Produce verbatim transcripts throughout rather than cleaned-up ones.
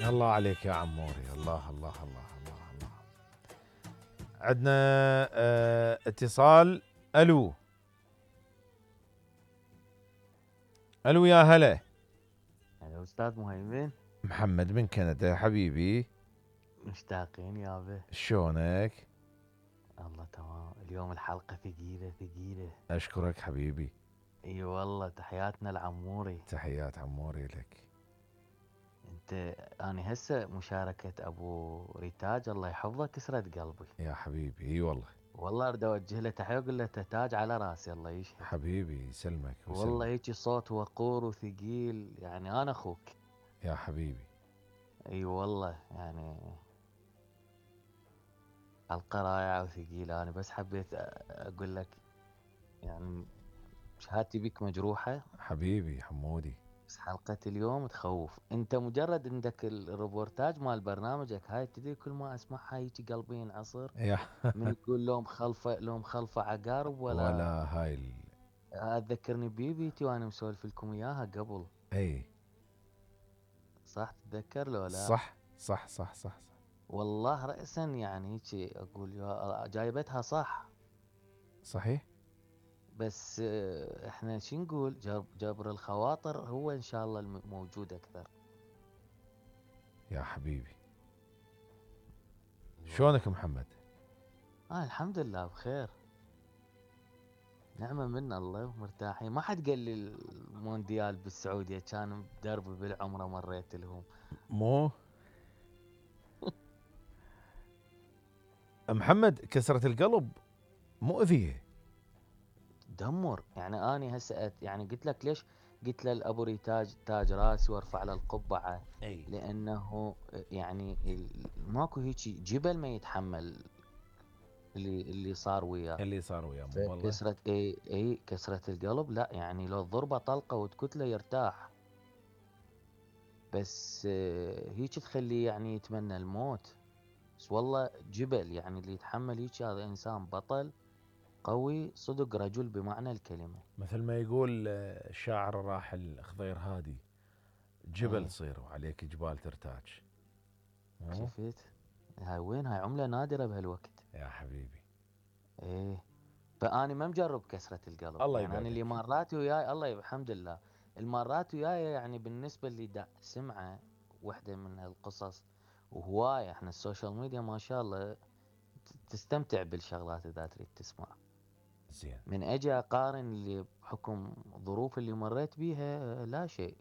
الله عليك يا عموري، الله الله الله الله الله. عندنا اه اتصال. الو الو يا هلا. هلا استاذ مهيمن. محمد من كندا يا حبيبي. مشتاقين يابا. شلونك؟ الله تمام. اليوم الحلقة ثقيلة ثقيلة. اشكرك حبيبي. اي والله تحياتنا العموري. تحيات عموري لك. انت انا هسه مشاركة ابو ريتاج الله يحفظه كسرت قلبي يا حبيبي. اي والله والله اريد اوجه له تحية واقول له تاج على راسي الله يشهد. حبيبي يسلمك والله ويسلمك. هيك صوت وقور وثقيل يعني انا اخوك. يا حبيبي. اي والله يعني حلقة رائعة وثقيلة. انا بس حبيت اقول لك يعني شهادتي بك مجروحة. حبيبي حمودي. بس حلقة اليوم تخوف. انت مجرد عندك الروبورتاج مال برنامجك هاي تدري كل ما اسمعها هيجي قلبي ينعصر. يا من يقول لو مخلفة لو مخلفة عقارب ولا. ولا هاي ال... اتذكرني بيبيتي وانا مسولف لكم اياها قبل. اي صح تتذكر لو لا؟ صح صح صح صح صح. والله رأسا يعني هيك اقول يا جايبتها صح. صحيح. بس اه، احنا شو نقول جبر, جبر الخواطر هو ان شاء الله الموجود اكثر. يا حبيبي. شلونك محمد؟ اه الحمد لله بخير. نعمة من الله مرتاحين. ما حد قال لي المونديال بالسعودية كان بدربي بالعمرة مريت لهم. مو محمد كسرة القلب مؤذية. دمر يعني اني هسه أت- يعني قلت لك ليش قلت له الابو ريتاج تاج راسي وارفع له القبعة. اي لانه يعني ال- ماكو هيك جبل ما يتحمل اللي اللي صار وياه. اللي صار وياه مو والله. فكسرة اي اي كسرة القلب لا يعني لو الضربة طلقة وتكتله يرتاح. بس آه، هيك تخليه يعني يتمنى الموت. بس والله جبل يعني اللي يتحمل هيك هذا انسان بطل قوي صدق رجل بمعنى الكلمة. مثل ما يقول آه، الشاعر الراحل خضير هادي، جبل ايه صير وعليك جبال ترتاج. مو شفت. هاي وين هاي عملة نادرة بهالوقت. يا حبيبي. ايه. فاني ما مجرب كسرة القلب الله يعني انا اللي يبعدك. مرات وياي الله يب- الحمد لله. المرات وياي يعني بالنسبة اللي دا سمعه وحدة من هالقصص. وهواية احنا السوشيال ميديا ما شاء الله ت- تستمتع بالشغلات اذا تريد تسمع. زين. من اجي اقارن اللي بحكم ظروف اللي مريت بيها لا شيء.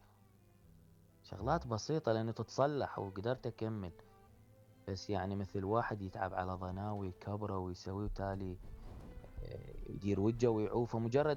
شغلات بسيطة لأنه تتصلح وقدرت أكمل. بس يعني مثل واحد يتعب على ضناوي كبره ويسوي وتالي آه، يدير وجهه ويعوفه مجرد